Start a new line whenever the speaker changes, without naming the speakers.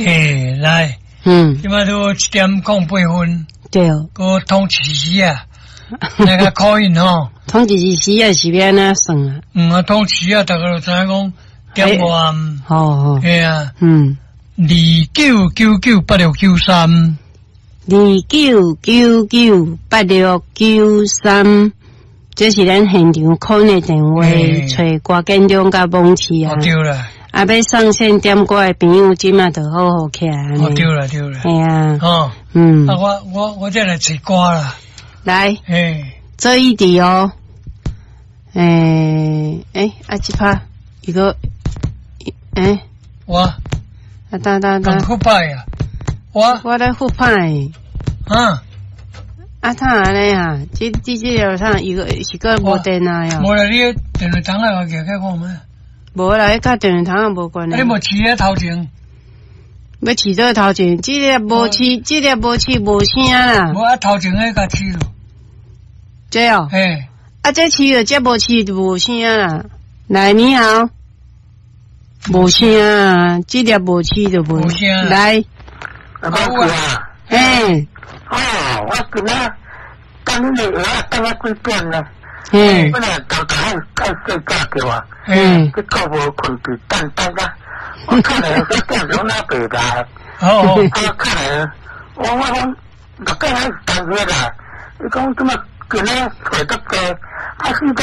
欸，來，這擺都7點08分，閣統一時啊，那個可以吼。
統一時啊是欲按怎算啊？
嗯啊，統一啊，逐家就知影講點外。
好好。
嘿啊。29998693。
29998693，這是咱現場 call 的電話，揣郭建中佮網市啊。
對啦。
啊，欲上線點歌的朋友，這馬就好好起來。
哦，對啦，對啦。
嘿啊。
哦。啊，我這來揣歌啦。
來。
嘿。
這一題哦。欸，欸，啊，這拍一個，欸。
我。
啊，等等等。
咁復拍啊！我。
我咧復拍。
啊。
啊，怎按呢啊？這個啥？伊個是閣無電啊？喲。
無啦，你電話筒啊，舉起看覓？
無啦，彼佮電話筒也無關係。
你無飼佇頭前？
欲飼佗頭前？這粒無飼，這粒無飼無聲啦。
無啊，頭前彼共飼囉。
這哦。
嘿。
啊，這飼了，這無飼就無聲啦。來，你好。無聲啊，這粒無飼就無。
無聲。
來。
啊，無啊。
嘿。
哦，我今仔等你的話等啊幾點啦？本來頭頭愛睡覺叫我，結果無睏去等等啊，我看來這點鐘哪袂來？
哦。
啊，看來我講6點還是當月啦？伊講怎麼今仔睡得多？啊，四點。